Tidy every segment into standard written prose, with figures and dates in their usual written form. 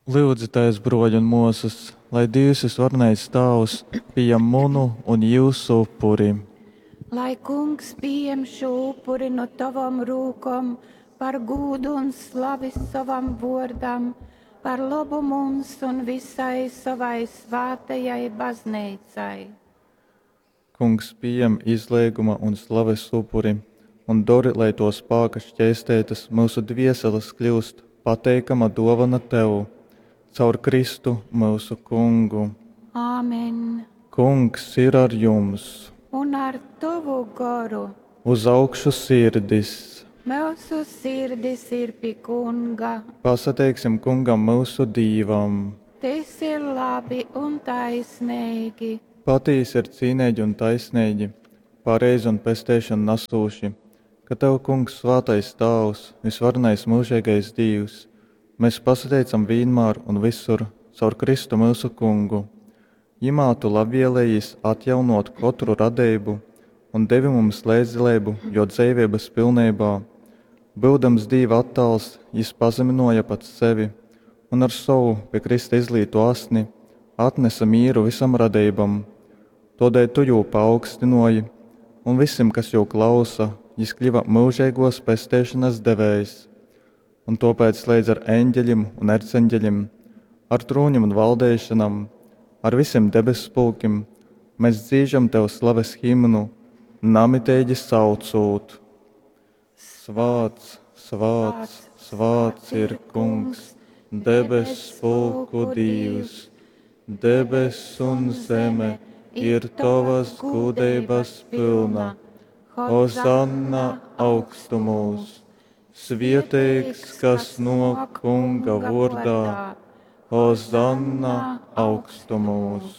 Lyudzitēs, bruoļi un muosys, lai Dīvs Vysvarenais Tāvs pījam munu un jiusu upuri. Lai Kungs pījem šū upuri nu tovom rūkom par gūdu un slavi sovam vuordam, par lobu mums un visai sovai svātajai Bazneicai. Kungs pījem izleiguma un slaves upuri un dori, lai tuo spāka šķeisteitys myusu dvieseles kļyust pateikama duovona Tev. Caur Kristu, myusu Kungu. Āmen. Kungs ir ar jums! Un ar tovu goru. Uz augšu sirdis! Myusu sirdis ir pi Kunga. Pasateiksim Kungam myusu Dīvam! Tys ir labi un taisneigi. Patīsi ir cīneigi un taisneigi, pareizi un pesteišonu nasūši, ka tev, Kungs, svātais Tāvs, vysvarenais myužeigais Dīvs, mes pasateicam vīnmār un vysur caur Kristu myusu Kungu. Jymā tu labvēlējīs atjaunōt kotru radeibu un devi mums leidzdaleibu jō dzeiveibas pilneibā. Byudams Dīva attāls, jys pazamynōja pats sevi un ar sovu pi krysta izlītu asni atnese mīru vysom radeibom. Tōdēļ tu jū paaugstynōji, un vysim, kas jū klausa, jys kļyva myužeigōs pesteišonas devējs. Un tōpēc leidz ar eņgelim un erceņgelim, ar trūnim un valdeišonam, ar vysim debesspulkim mes dzīžam tev slaves himnu, namiteigi saucūt: Svāts, svāts, svāts ir Kungs, debesspulku Dīvs! Debess un zeme ir tovas gūdeibas pylna. Hozanna augstumūs! Svieteigs, kas nōk Kunga vōrdā! Hozanna augstumūs!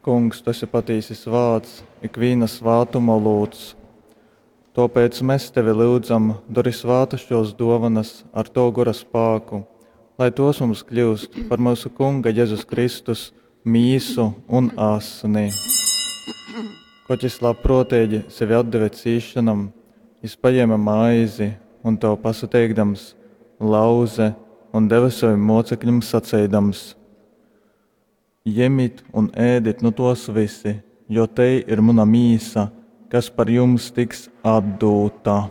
Kungs, tu esi patīsi svāts, ikvīna svātuma olūts. Tōpēc mēs tevi lyudzam, dori svātas šōs dōvanas ar Tavu gora spāku, lai tos mums kļūst par myusu Kunga Jezus Kristus mīsu un asni. Kod jys labprōteigi sevi atdeve cīsšonom, jys pajēme maizi un tev pasateikdams, lauze un deve sovim mōcekļim saceidams: Jemit un ēdit nu tōs vysi, jo tei ir muna mīsa, kas par jums tiks atdūta.